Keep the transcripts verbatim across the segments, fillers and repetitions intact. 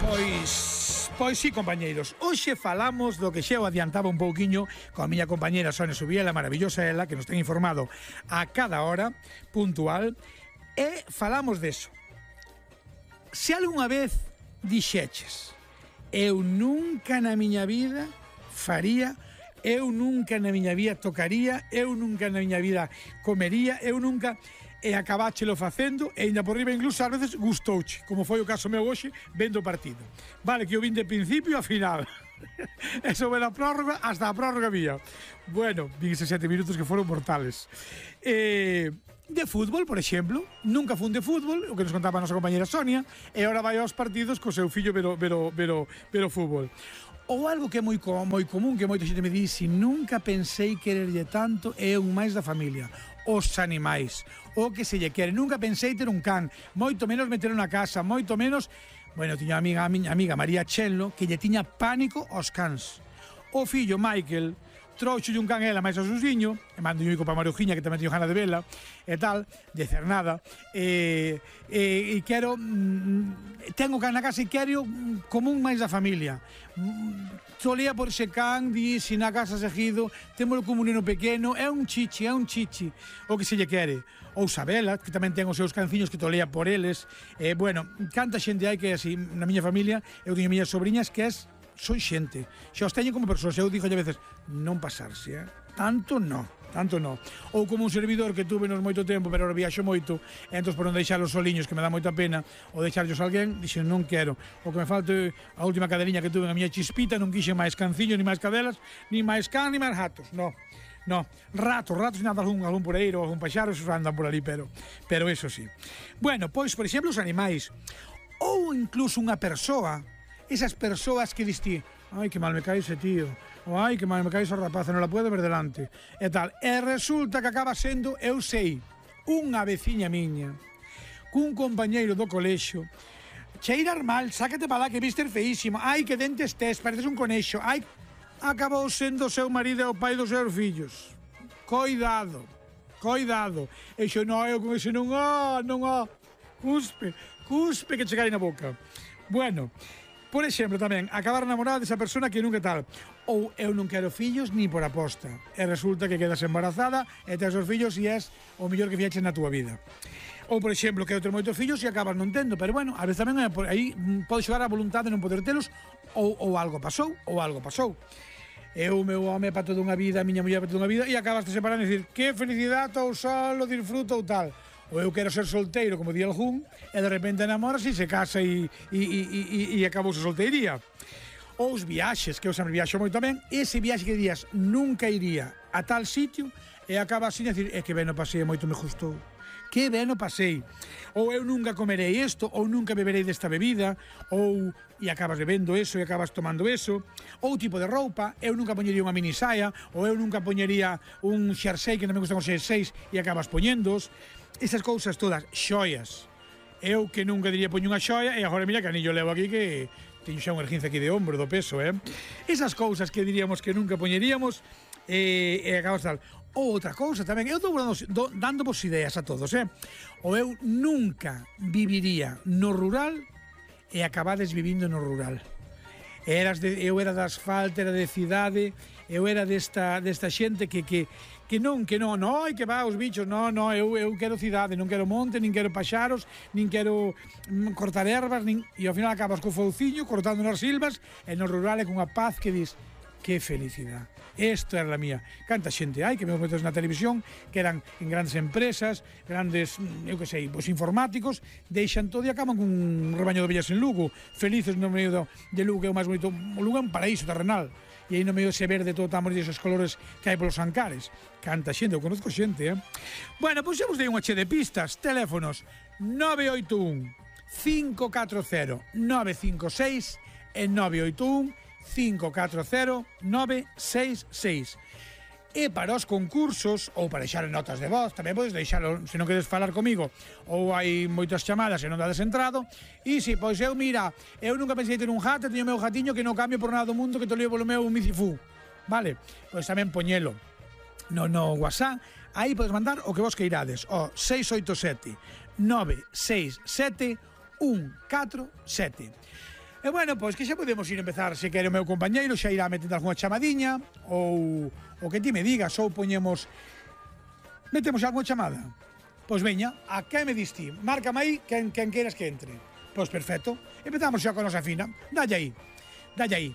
Pois, pois sí, compañeiros, hoxe falamos do que xa o adiantaba un pouquiño coa miña compañera Sonia Subiela, maravillosa ela, que nos ten informado a cada hora, puntual, e falamos deso. Se algunha vez dixeches, eu nunca na miña vida faría, eu nunca na miña vida tocaría, eu nunca na miña vida comería, eu nunca... e acabáchelo facendo e ainda por riba incluso ás veces gustouche, como foi o caso meu hoxe vendo o partido. Vale, que eu vin de principio a final. Eso ve a prórroga, hasta a prórroga vía. Bueno, vin eses sete minutos que foron mortales. Eh, de fútbol, por exemplo, nunca fun de fútbol, o que nos contaba a nosa compañera Sonia, e ahora vai aos partidos co seu fillo ver o, ver o, ver o, ver o fútbol. Ou algo que é moi, moi común, que moita xente me di, si nunca pensei quererlle tanto, é un máis da familia, os animais, o que se lle quere. Nunca pensei ter un can, moito menos meter na casa, moito menos... Bueno, tiña a amiga, a miña amiga María Chello, que lle tiña pánico aos cans. O fillo Michael trouxolle un can ela máis a susiño, e mando un para Marujiña, que tamén teño gana de vela, e tal, de Cernada, e, e, e quero, mm, tengo can na casa e quero como un máis da familia. Solía por ese can, di, si na casa seguido, témolo como un neno pequeno, é un chichi, é un chichi, o que se lle quere. Ou Sabela, que tamén ten os seus canciños que tolea por eles. E, bueno, canta xente hai que, así, na miña familia, eu teño miñas sobriñas que es son xente, xa os teño como persoas. Eu dixo a veces, non pasarse, eh? Tanto non, tanto non. Ou como un servidor que tuve nos moito tempo, pero ahora viaxo moito, e entón por non deixar os soliños, que me dá moita pena, ou deixarlos a alguén, dixen, non quero. O que me falte, a última cadeliña que tuve na miña chispita, non quixen máis canciños, ni máis cadelas, ni máis can, ni máis ratos, non. No, ratos, ratos nada, algún, algún por aí, ou algún paxaro, esos andan por ali, pero, pero eso sí. Bueno, pois, por exemplo, os animais, ou incluso unha persoa, esas persoas que diste, ai, que mal me cae ese tío, ou ai, que mal me cae esa rapaza, non la puedo ver delante, e tal, e resulta que acaba sendo, eu sei, unha veciña miña, cun compañeiro do colexio, cheirar mal, sácate para lá que vistes feísimo, ai, que dentes tes, pareces un conexo, ai, acabou sendo o seu marido e o pai dos seus fillos. Coidado, coidado, e xo non, eu con ese non há, non há, cuspe, cuspe que chegai na boca. Bueno, por exemplo, tamén, acabar namorada desa persona que nunca tal. Ou eu non quero fillos ni por aposta. E resulta que quedas embarazada e tes os fillos e és o mellor que fixeches na túa vida. Ou, por exemplo, quero ter moitos fillos e acabas non tendo. Pero, bueno, a veces tamén é por aí pode xogar a voluntade de non poder telos, ou, ou algo pasou, ou algo pasou. Eu, meu home, para toda unha vida, a miña muller para toda unha vida, e acabas de separar e dicir, que felicidade, ou solo, disfruto ou tal. Ou eu quero ser solteiro, como di algún, e de repente enamoras e se casa e, e, e, e, e acabou a solteiría. Ou os viaxes, que eu sempre viaxo moito tamén, ese viaxe que días nunca iría a tal sitio e acaba así a decir, é que ben o pasei, moito me gustou. Que ben o pasei. Ou eu nunca comerei isto, ou nunca beberei desta bebida, ou e acabas bebendo eso e acabas tomando eso. Ou tipo de roupa, eu nunca poñería unha mini saia, ou eu nunca poñería un xersei, que non me gustan os xerseis, e acabas poñendos. Esas cousas todas, xoias. Eu que nunca diría poño unha xoia, e agora mira que anillo levo aquí que teño xa unha erguinza aquí de ombro, do peso, eh? Esas cousas que diríamos que nunca poñeríamos, e, e acabas tal. Ou outra cousa tamén, eu estou dando, dando vos ideas a todos, eh? Ou eu nunca viviría no rural e acabades vivindo no rural. Eras de, eu era de asfalto, era de cidade, eu era desta, desta xente que, que, que non, que non, non, que va os bichos, non, non, eu, eu quero cidade, non quero monte, nin quero paxaros, nin quero mm, cortar ervas, nin, e ao final acabas co fouciño, cortando nas silvas, e no rural é cunha paz que dis, que felicidade. Esta era a mía. Canta xente hai que me metes na televisión que eran en grandes empresas, grandes, eu que sei, pois informáticos, deixan todo e acaban cun rebaño de ovellas en Lugo, felices no medio do, de Lugo, que é o máis bonito. O Lugo é un paraíso terrenal. E aí no medio ese verde todo tan bonito, esos colores que hai polos ancares. Canta xente, eu conozco xente, eh? Bueno, pois xa vos dei unha che de pistas. Teléfonos nove oito un, cinco catro cero, nove cinco seis e nove oito un, cinco catro cero, nove seis seis. E para os concursos, ou para deixar notas de voz, tamén podes deixalo, se non queres falar comigo, ou hai moitas chamadas e non dades entrado, e si, pois eu, mira, eu nunca pensei ter un gato, teño o meu gatiño que non cambio por nada do mundo, que te levo polo meu micifú, vale? Pois tamén poñelo no, no WhatsApp, aí podes mandar o que vos queirades, o seis oito sete, nove seis sete, un catro sete. E bueno, pois que xa podemos ir empezar, se quere o meu compañeiro, xa irá metendo algunha chamadiña, ou o que ti me digas, ou poñemos... Metemos algunha chamada? Pois veña, a que me diste? Márcame aí quen, quen queiras que entre. Pois perfecto, empezamos xa con a nosa Fina. Dalle aí, dalle aí.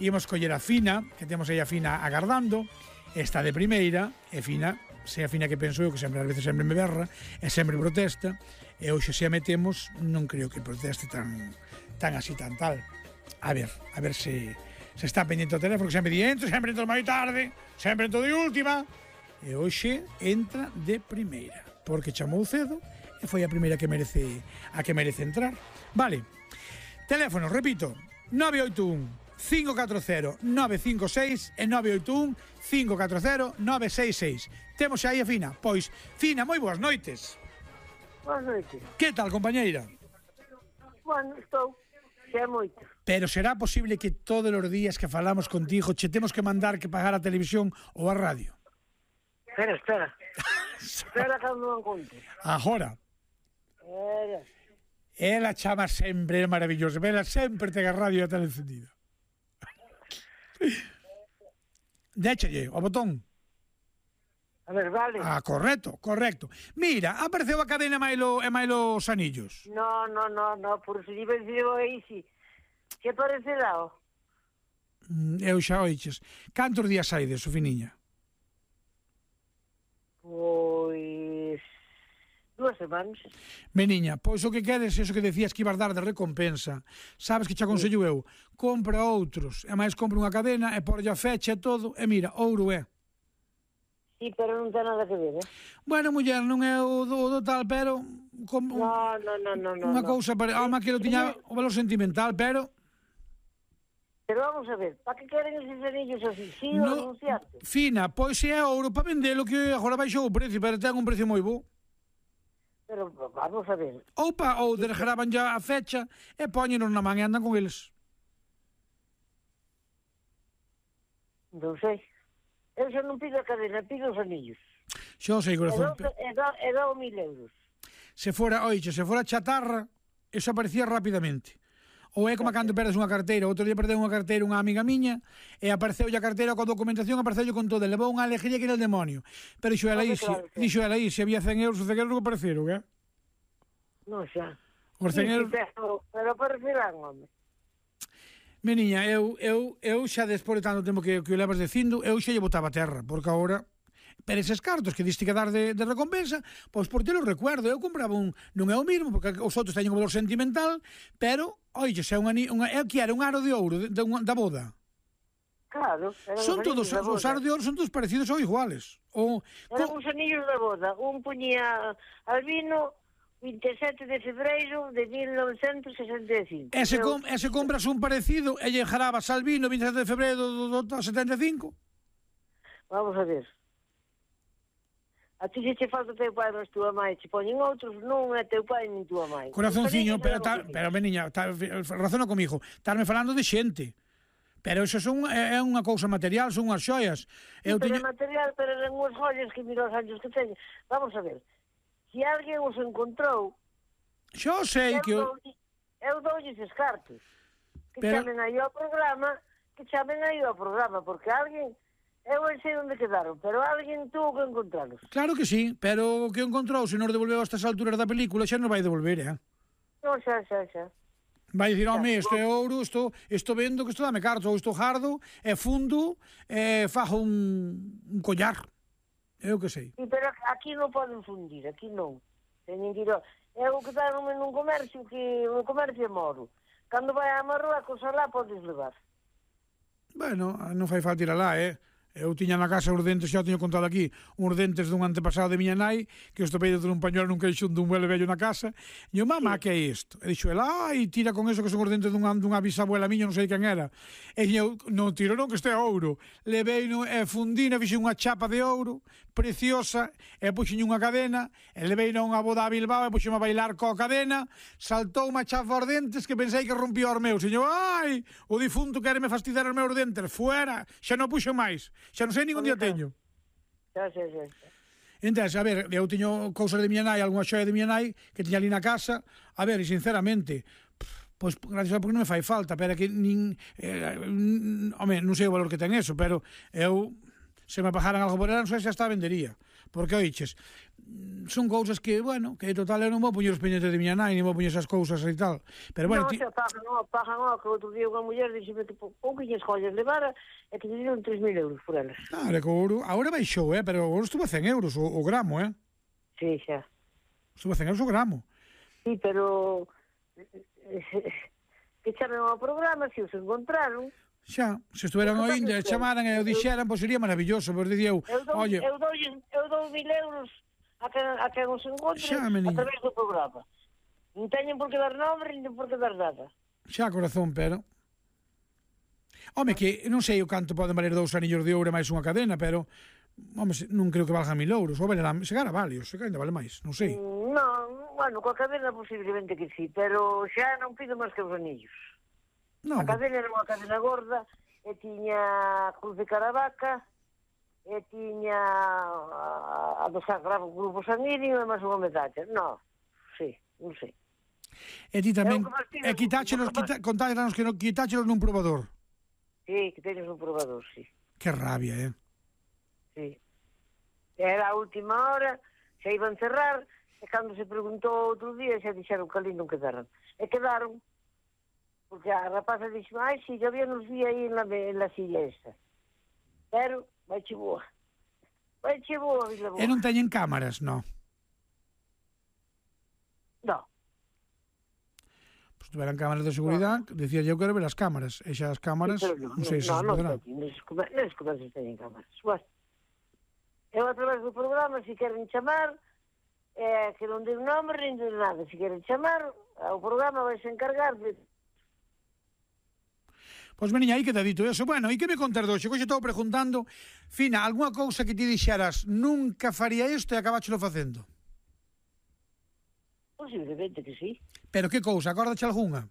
Imos coller a Fina, que temos aí a Fina agardando, está de primeira, e Fina, se a Fina que penso eu, que sempre ás veces sempre me berra, e sempre protesta, e hoxe se a metemos, non creo que proteste tan tan así, tan tal. A ver, a ver se, se está pendiente o teléfono, que sempre di entro, sempre entro máis tarde, sempre entro de última, e hoxe entra de primeira, porque chamou cedo, e foi a primeira que merece a que merece entrar. Vale, teléfono, repito, nove oito un, cinco catro cero, nove cinco seis e nove oito un, cinco catro cero, nove seis seis. Temos aí a Fina. Pois, Fina, moi boas noites. Boas noites. Que tal, compañeira? Bueno, estou, xa é moito. Pero será posible que todos os días que falamos contigo che temos que mandar que pagar a televisión ou a radio? Espera, espera. Espera que non encontro. Agora. Espera. Ela chama sempre, é maravilloso. Ela sempre ten a radio e a tele encendida. Déchelle o botón. A ver, vale. Ah, correcto, correcto. Mira, apareceu a cadena Mailo e Mailo Sanillos. No, no, no, no, por si iba a dicir aí, si. Que parecerá, o? Mm, Eu xa oiches. Cantos días hai de Sofiniña? Pois... Duas semanas. Meniña, pois o que queres, eso que decías que ibas dar de recompensa. Sabes que che aconsello eu? Compra outros, e máis compra unha cadena e porlle a fecha e todo, e mira, ouro é. Sí, pero non ten nada que ver, eh? Bueno, muller, non é o do, o do tal, pero... Como, No, no, no, no, no. Unha no. cousa, para, alma que lo tiña o valor sentimental, pero... Pero vamos a ver, para que queren eses anillos así? Sí, No, o anunciarte? Fina, pois se é ouro para vendelo, que agora baixou o precio, pero ten un precio moi bo. Pero vamos a ver. Ou pa, ou desgraban ya a fecha e poñenos na man e andan con eles. Non sei. Eu xa non pido a cadena, pido os anillos. Xo sei, E corazón. dou, e dou, e dou mil euros. Se fora, oixe, se fora chatarra, eso aparecía rapidamente. Ou é como cando perdes unha carteira. Outro día perdeu unha carteira unha amiga miña e apareceu a carteira coa documentación, apareceu con todo. Levou unha alegría que era el demonio. Pero dixo ela aí, Claro, claro. dixo ela aí, se había cen euros, os cen euros non apareceron, eh? Non xa. Os Sí, cen sí, euros... pero, pero aparecerán, home. Meniña, eu, eu, eu xa despois de tanto tempo que, que o levas dicindo, eu xa lle botaba a terra, porque agora, pero eses cartos que diste que dar de, de recompensa, pois por te lo recuerdo, eu compraba un, non é o mismo, porque os outros teñen un valor sentimental, pero, oye, se é un ani, unha, eu que era un aro de ouro de, de, unha, da boda. Claro. Eran Son os todos, anillos da os boda. aros de ouro son todos parecidos ou iguales. O, Eran co, os anillos da boda. Un puñía albino vinte e sete de febreiro de mil novecentos sesenta e cinco. e, se Eu- com, e se compras un parecido e lle jarabas Albino vinte e sete de febreiro do, do, do setenta e cinco, Vamos a ver. A ti se che falta teu pai, mas tua mãe te poñen outros, non é teu pai nin tua mãe. corazonciño, Os pero, anillos ta, eran os pero meniña, ta, razona comigo, estarme falando de xente. Pero eso son, é, é unha cousa material, son unhas xoias. Eu Pero teño... é material, pero eran unhas joias que mira os años que teñen. Vamos a ver. Se alguén os encontrou, Xo sei eu, que... dou, eu dou-lles os cartos. Que Pero- chamen aí ao programa, que chamen aí ao programa, porque alguén, eu non sei onde quedaron, pero alguén tuvo que encontralos. Claro que sí, pero o que encontrou, se nos devolveu a estas alturas da película, xa non vai devolver, eh? Non, xa, xa, xa. Vai dicir, home, isto é ouro, isto, isto vendo, que isto dame cartos, ou isto jardo, é fundo, e fajo un, un collar. Eu que sei. Sí, pero aquí non poden fundir, aquí non. Teñen que ir... ao- Eu quedaronme nun comercio que un comercio é moro. Cando vai a Marruecos, alá podes levar. Bueno, non fai falta ir alá, eh? Eu tiña na casa os dentes, xa o teño contado aquí, uns dentes dun antepasado de miña nai, que os topei dentro dun pañuelo nun queixón dun velho vello na casa, e eu, mamá, que é isto? E dixo, ela, ai, tira con eso que son os dentes dunha, dunha bisabuela miña, non sei quen era. E eu, non tiro non, que este é ouro. Levei no, e fundina, fixe unha chapa de ouro, preciosa, e puxen unha cadena, e levei unha boda a Bilbao, e puxen a bailar coa cadena, saltou unha chapa aos dentes que pensei que rompía os meus. E eu, ai, o difunto quereme fastidiar os meus dentes, fuera, xa non puxo máis. Xa non sei ningún día teño. Xa, xa, xa, xa. Entón, a ver, eu teño cousas de miña nai, algunha xoia de miña nai que tiña ali na casa. A ver, e sinceramente, pff, Pois, gracias a porque non me fai falta, pero é que nin... Eh, home, non sei o valor que ten eso, pero eu, se me pagaran algo por ela, non sei se hasta vendería. Porque, oiches, son cousas que, bueno, que total eu non vou poñer os pendientes de miña nai, non vou poñer esas cousas e tal. Pero, bueno, non, ti... xa pagan, non, pagan, ó, que outro día unha muller dixeme que pouquinhas joyas levara e que lle dieron tres mil euros por elas. Claro, que o ouro, agora baixou, eh, pero o ouro estuvo a cen euros o, o gramo, eh. Sí, xa. Estuvo a cen euros o gramo. Sí, pero que chamen ao programa, se os encontraron. Xa, se estuveran Eu oínde, tamén chamaran e o dixeran, pois sería maravilloso, pois dicía eu, Eu dou, oye, eu dou, eu dou mil euros a que, a que os encontre Xa, a meniña. través do programa. Non teñen por que dar nombre, nin por que dar nada. xa corazón, pero... Home, que non sei o canto poden valer dous anillos de ouro máis unha cadena, pero... Home, se- non creo que valga mil euros, ou valerá, se gara vale, ou se ainda vale máis, non sei. Mm, Non, bueno, coa cadena posiblemente que sí, pero xa non pido máis que os anillos. Non, A cadena era unha cadena gorda, e tiña cruz de Caravaca, e tiña a, a do Sagrado Grupo Sanguíneo e máis unha medalla. Non, sí, non sei. e ti tamén, Eu que fastidio, e quitáchelos, eu que quita, contáchenos que non quitáchelos nun probador. Sí, que teñes un probador, sí. Que rabia, eh. Sí. Era a última hora, xa iban cerrar, e cando se preguntou outro día, xa dixeron que ali non quedaran. E quedaron, porque a rapaza dixo, ai, si, yo había nos vi aí en la, en la silla esta. Pero, vai che boa. Vai che boa, Vila Boa. E non teñen cámaras, non. No. Pois tuveran cámaras de seguridade, decía eu quero ver as cámaras, e xa as cámaras, Sí, pero non sei se no, se no, poderá. no, nos comer- nos comercios teñen cámaras. Bueno, eu a través do programa, se queren chamar, eh, que non den nombre, nin den nada. Se queren chamar, o programa vai se encargar de... Pois meniña, aí queda dito eso. Bueno, e que me contas doxe? Hoxe estou preguntando, Fina, algunha cousa que ti dixeras nunca faría isto e acabáchelo facendo? Posiblemente que sí. Pero que cousa? Acórdache algunha?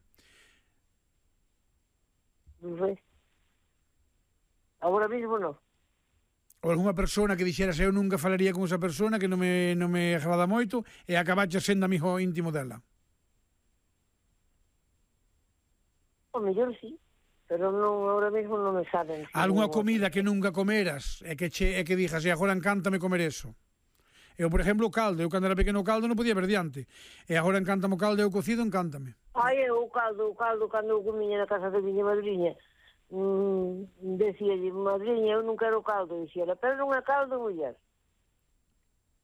Non sei. Agora mismo non. Ou algunha persona que dixeras eu nunca falaría con esa persona que non me, non me agrada moito e acabaches sendo amigo íntimo dela? O mellor sí. Pero non, agora mismo non me saben. Si Algunha non- comida que nunca comeras e que, che, e que dixas, e agora encántame comer eso? Eu, por exemplo, o caldo. Eu, cando era pequeno, o caldo non podía ver diante. E agora encántame o caldo e o cocido, encántame. Ai, eu o caldo, o caldo, cando eu comía na casa da miña madriña, mm, decía, madriña, eu non quero caldo, dixía, pero non é caldo, muller.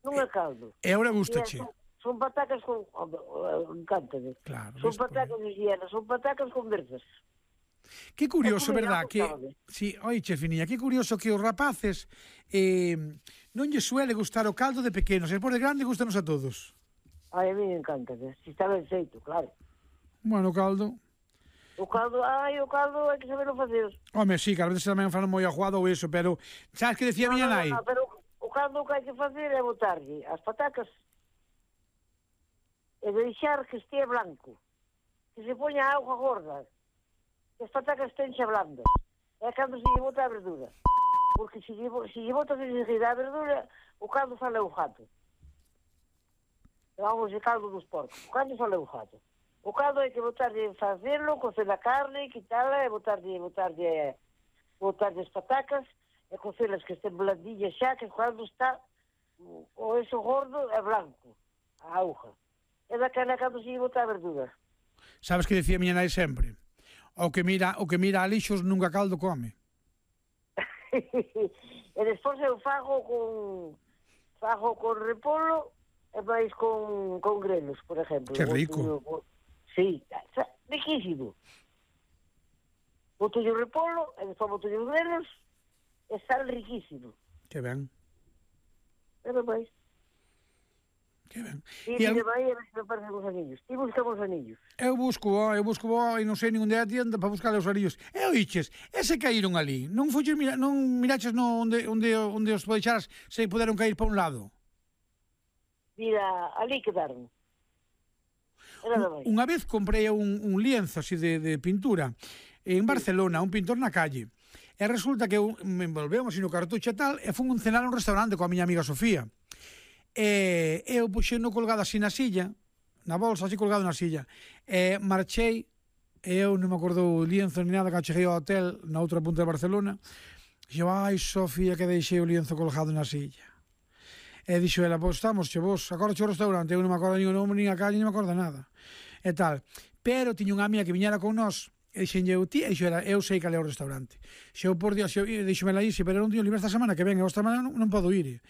Non é caldo. E agora E gustache. son, son patacas con... Oh, oh, encántame. Claro. Son ves por aí. patacas, dixía, son patacas con verzas. Que curioso, É comida, verdad? Que, gustaba. sí, oiche, Finiña, que curioso que os rapaces eh, non lle suele gustar o caldo de pequenos, e por de grande gustanos a todos. Ai, a mí me encanta, se está ben feito, claro. Bueno, o caldo... O caldo, ai, o caldo hai que saberlo facer. Home, sí, que a veces tamén fan moi aguado ou eso, pero sabes que decía a miña No, no, nai? no, pero o caldo que hai que facer é botarlle as patacas e deixar que estea blanco. Que se poña auga gorda. Que as patacas estén xa blandas. É cando se lle bota a verdura. Porque se lle, se lle botas enseguida a verdura, o caldo sale o jato. Vamos, o caldo dos porcos. O caldo sale o jato. O caldo hai que botarlle, facerlo, cocer a carne, quitarla e botarlle, botarlle, botarlle as patacas e cocelas que estén blandillas xa, que o caldo está, o eso gordo é blanco, a auga. É daquela cando se lle bota a verdura. Sabes que decía a miña nai sempre? O que mira, o que mira a lixos nunca caldo come. E despois eu fago con fago con repolo e máis con, con grelos, por exemplo. Que rico. Boto, sí, riquísimo. Boto o repolo e despois boto os grelos e sal riquísimo. Que ben, Pero máis. que ben. E E al... al- vai a ver se me parecen os anillos. E buscamos anillos. Eu busco, ó, eu busco ó, e non sei ningún día tienda para buscar os arillos. E oiches, ese caíron ali. Non fuches mira, non miraches no onde onde onde os deixaras se puderon cair para un lado. Mira, ali quedaron. Era da máis. Unha vez comprei un, un lienzo así de, de pintura en Barcelona, un pintor na calle. E resulta que eu me envolvemos así no cartucho e tal, e fun un cenar a un restaurante coa miña amiga Sofía. E eu puxeno colgado así na silla, na bolsa, así colgado na silla. E marchei e eu non me acordo o lienzo ni nada, que cheguei ao hotel na outra punta de Barcelona, e eu, ai, Sofía, que deixei o lienzo colgado na silla. E dixo ela, pois estamos, che vos, agora che o restaurante, eu non me acordo nin o nome, nin a calle, non me acordo nada. E tal. Pero tiña unha amiga que viñera con nós, e dixenlle eu, ti, e dixo era, eu sei cal é o restaurante. Se eu, por Dios, dixome ela ixe, pero non teño libre esta semana que ven, e esta semana non, non podo ir.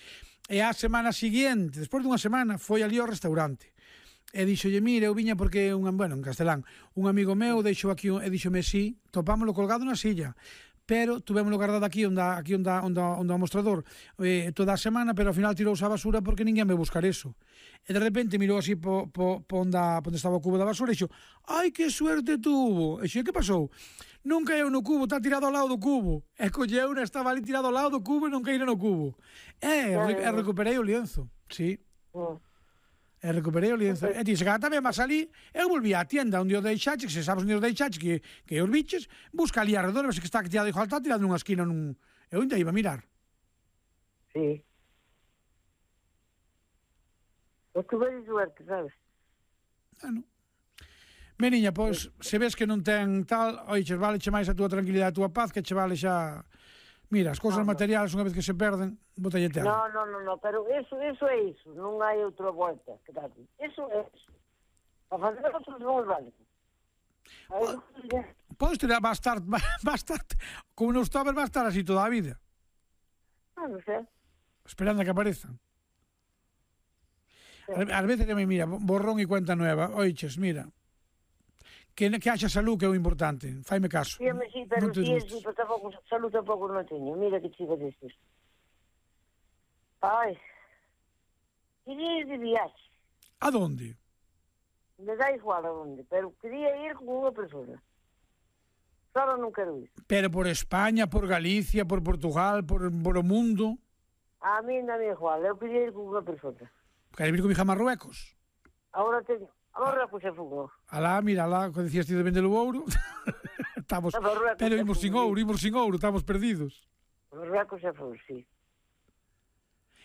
E a semana seguinte, despois dunha semana, foi ali ao restaurante. E dixolle, mire, eu viña porque, un, bueno, en castelán, un amigo meu deixou aquí, e dixome, sí, topámoslo colgado na silla, pero tuvémoslo guardado aquí onde, aquí onde, onde, onde o mostrador eh, toda a semana, pero ao final tirouse a basura porque ninguén me buscar eso. E de repente mirou así po, po, po onde, onde estaba o cubo da basura e dixo, ai, que suerte tuvo. E dixo, que pasou? Non caeu no cubo, está tirado ao lado do cubo. E colleu, estaba ali tirado ao lado do cubo e non caíra no cubo. E, e recuperei o lienzo, sí. E recuperei o lienzo. E ti, se cada tamén vas ali, eu volví á tienda onde o deixache, que se sabes onde o deixache, que, que os biches, busca ali alrededor, ves que está tirado, igual está tirado nunha esquina, nun... eu ainda iba a mirar. Sí. Eu tuve de suerte, sabes? Bueno. Meniña, pois, se ves que non ten tal, oiches, vale che máis a túa tranquilidade, a túa paz, que che vale xa... Mira, as cousas no, materiales, unha vez que se perden, botalle terra. No, no, no, no, pero eso, eso é iso, non hai outra volta. Eso é iso. A fazer outros non vale. Pois te va a estar, va a estar, como non estaba, va a estar así toda a vida. Ah, non sei. Esperando a que aparezan. Sí. Ás veces que me mira, borrón e cuenta nueva, oiches, mira, que, que haxa salud que é o importante, faime caso. Sí, me sí, pero sí, sí, pero tampouco, salud tampouco non teño, mira que chico destes. Ai, quería ir de viaxe. A donde? Me dá igual a donde, pero quería ir con unha persona. Só non quero ir. Pero por España, por Galicia, por Portugal, por, por o mundo? A mí non é igual, eu quería ir con unha persona. Queres ir con mi hija a Marruecos? Agora teño... Agora Marruecos é fugo. Alá, mira, alá, que decías ti de vender o ouro. Estamos, pero imos sin ouro, imos sin ouro, estamos perdidos. Marruecos é fugo, sí.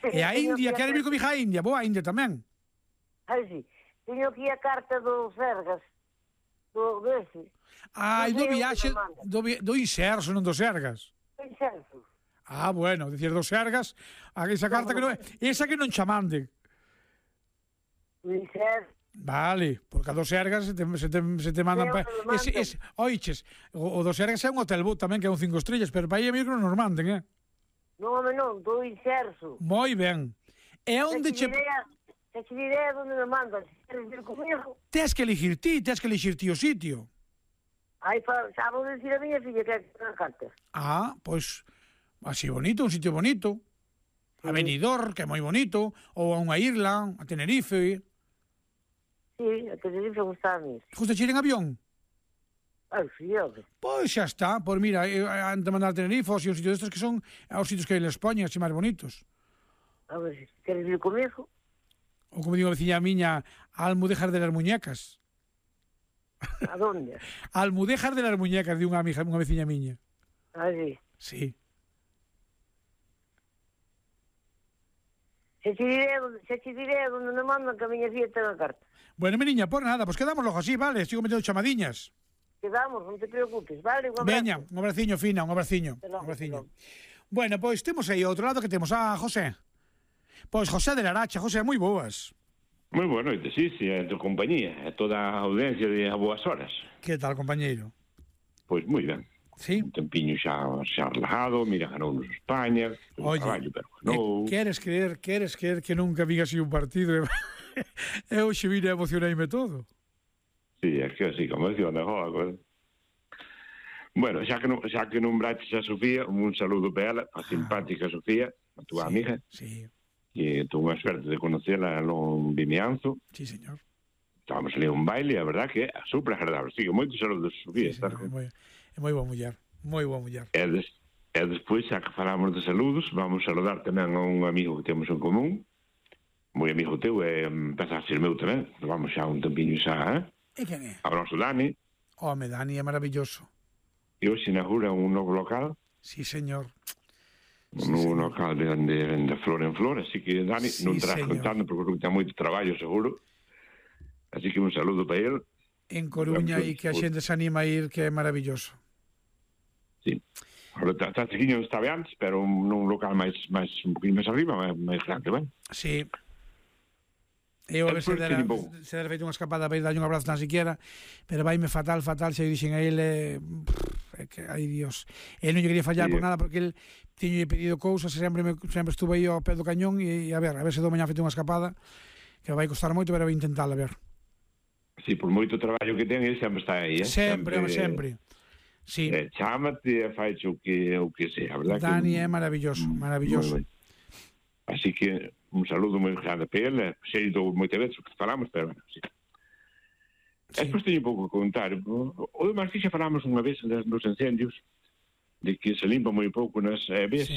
E a India, queres vir con mi hija a India? Boa, a India tamén. Ai, sí. Teño aquí a carta do Sergas. Do dese. Ai, do viaxe, do, do Inserso, non do Sergas. Do Inserso. Ah, bueno, decir do Sergas, esa carta que non é, esa que non cha mande. Do Inserso. Vale, porque a dos Sergas se te, se te, se te mandan... Pa... Ese, ese, oiches, o, o dos Sergas é un hotel boot tamén, que é un cinco estrellas, pero para aí a mí que non nos manden, eh? Non, home, non, do Inserso. Moi ben. E onde che... Se che diré onde me mandan, se queres vir comigo. Tes que elegir ti, tes que elegir ti o sitio. Aí, xa vou dicir a miña filla que é a carta. Ah, pois, así bonito, un sitio bonito. A Benidorm, que é moi bonito, ou a unha isla, a Tenerife... Sí, a Tenerife gusta a mí. Gusta ir en avión? Ah, sí, ok. Pois xa está, pois mira, antes de mandar a Tenerife, ou si, os sitios estes que son os sitios que hai en España, así máis bonitos. A ver, queres ir comigo? Ou como digo a veciña miña, a Almudéjar de las Muñecas. A donde? A Almudéjar de las Muñecas, de unha amiga, unha veciña miña. Ah, sí. Sí. Se te diré, se te diré onde me mandan que a miña filla ten a carta. Bueno, mi niña, por nada, pues quedamos logo así, vale? Sigo metendo chamadiñas. Quedamos, non te preocupes, vale? Un abrazo. Veña, un abraciño, Fina, un abraciño. Un abraciño. Bueno, pois temos aí outro lado que temos a José. Pois José de Laracha, José, moi boas. Moi boa noite, sí, sí, a tu compañía, a toda a audiencia de a boas horas. Que tal, compañeiro? Pois moi ben. Sí. Un tempiño xa, xa relajado, mira, ganounos España, oye, traballo, pero ganou. Eh, queres creer, queres creer que nunca vi así un partido? E hoxe vine a emocionarme todo. Sí, é que así, como decía, onde joga. Bueno, xa que non, xa que nombraches a Sofía, un saludo para ela, a simpática ah. Sofía, a túa sí, amiga. Sí. E tuve unha suerte de conocela no Vimianzo. Sí, señor. Estábamos ali a un baile, a verdad que é super agradable. Sigo moitos saludos, Sofía. Sí, señor, é, moi, é moi boa muller, moi boa muller. E, des, e despois, xa que falamos de saludos, vamos a saludar tamén a un amigo que temos en común, moi amigo teu, e empeza a ser meu tamén, vamos xa un tempinho xa, eh? E quen é? A noso Dani. Home, Dani é maravilloso. E hoxe inaugura un novo local. Sí, señor. Un sí, novo señor. Local de, de, de flor en flor, así que Dani sí, non terás contando, porque ten moito traballo, seguro. Así que un saludo para ele. en Coruña e que a xente se anima a ir, que é maravilloso. Sí. Ahora está chiquiño está antes, pero nun local máis máis un poquinho máis arriba, máis, máis grande, ben? Sí. Eu a ver se dera, se dera feito unha escapada para ir darlle un abrazo tan siquiera, pero vaime fatal, fatal, se dixen a ele, é que, ai Dios, ele non lle quería fallar sí, por nada, porque ele tiño pedido cousas, e sempre, me, sempre estuve aí ao pé do cañón, e, e a ver, a ver se do mañá feito unha escapada, que vai costar moito, pero vai intentar, a ver. Sí, por moito traballo que ten, ele sempre está aí, eh? Sempre, sempre. sempre. Sí. Eh, chámate e faiche o que, o que sea, verdad? Dani que, é maravilloso, maravilloso. Así que un saludo moi grande para ele, sei do moitas veces que falamos, pero bueno, sí. Sí. Despois teño un pouco que contar. O demais que xa falamos unha vez nos incendios, de que se limpa moi pouco nas eh, ves, sí.